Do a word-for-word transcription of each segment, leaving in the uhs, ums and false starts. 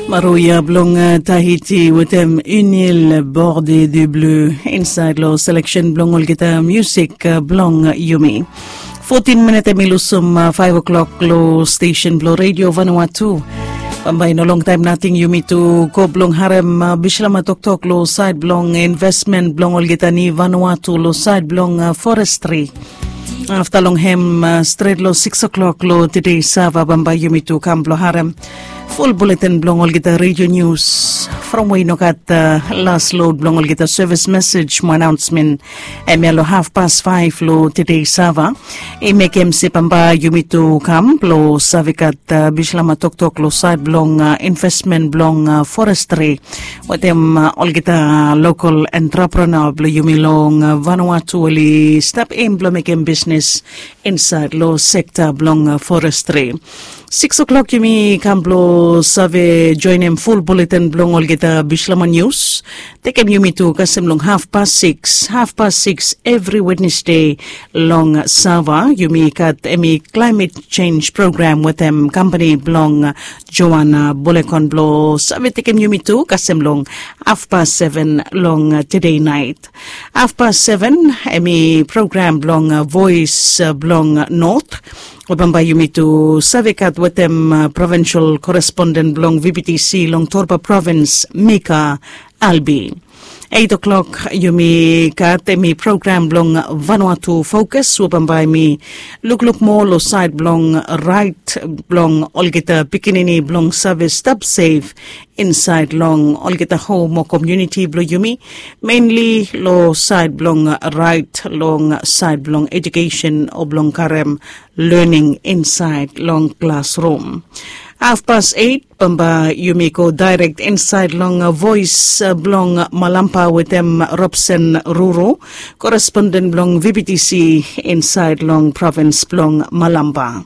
Maroya blong Tahiti wetem Unil Borde de Bleu insaed long seleksen blong olgeta musik blong yumi. Fotin minit em i lusum faef o'klok long stesen blong Redio Vanuatu. Bambae i no longtaem nating yumi tu go blong harem bislama toktok long saed blong investmen blong olgeta ni Vanuatu long saed blong forestri. Afta long hem stret long sikis o'klok long tede sava bambae yumi tu kam blong harem ful buleten blong olgeta redio nius from we i no gat las lod blong olgeta sevis mesej mo anaonsmen. Hemia long hafpas faef long tede sava i mekem se bambae yumi tu kam blong save gat bislama toktok long saed blong investmen blong forestri wetem olgeta lokal entrepreneur blong yumi long Vanuatu oli stap em blong mekem bisnes insaed long sekta blong forestri. Sikis o'klok yumi kam blong save joenem ful buleten blong olgeta bislama nius. Tekem yumi tu kasem long hafpas sikis, hafpas sikis evri Wednesde long sava yumi gat hemi klaemet jenj program wetem kampani blong Joana Bolekon blong save tekem yumi tu kasem long hafpas seven long tede naet. Hafpas seven hemi program blong Voes blong Not we bambae yumi tu save gat wetem provinsel koresponden blong VBTC long Torba provins Mika Albi. Eit o'klok yumi gat hemi program blong Vanuatu Fokus we bambae mi lukluk moa long saed blong raet blong olgeta pikinini blong save stap sef insaed long olgeta hom o komuniti blong yumi, menli long saed blong raet long saed blong ejukesen o blong karem lening insaed long klasrum. Hafpas eit bambae yumi go daerek insaed long Voes blong Malampa wetem Robson Ruru, koresponden blong VBTC insaed long provins blong Malampa.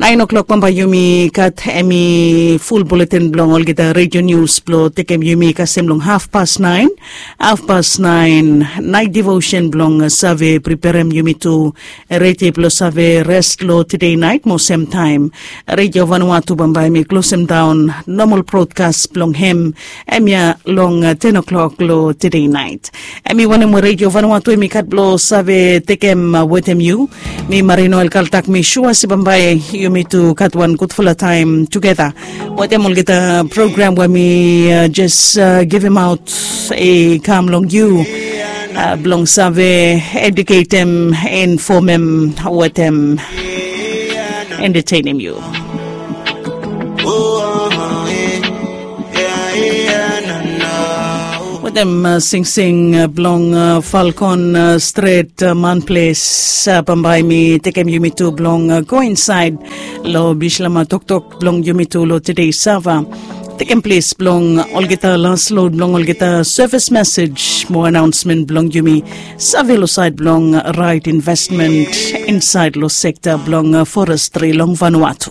Naen o'klok bambae yumi gat hemi ful buleten blong olgeta redio nius blong tekem yumi kasem long hafpas naen. Hafpas naen naet devosen blong save preperem yumi tu redi blong save res long tede naet mo semtaem Redio Vanuatu bambae mi klosem daon nomal brodkas blong hem hemia long ten o'klok long tede naet. Hemi wanem we Redio Vanuatu hemi gat blong save tekem wetem yu. Mi Marino Elkaltak mi sua se bambae yumi tu gat wan gudfala taem tugeta wetem olgeta program we mi jes givemaot i kam long yu blong save eduketem, infomem wetem entetenem yu. Wetem singsing blong Falkon stret manples, bambae mi tekem yumi tu blong go insaed long bislama toktok blong yumi tu long tede sava. Tekem ples blong olgeta las lod blong olgeta sevis mesej mo anaonsmen blong yumi save long saed blong raet investmen insaed long sekta blong forestri long Vanuatu.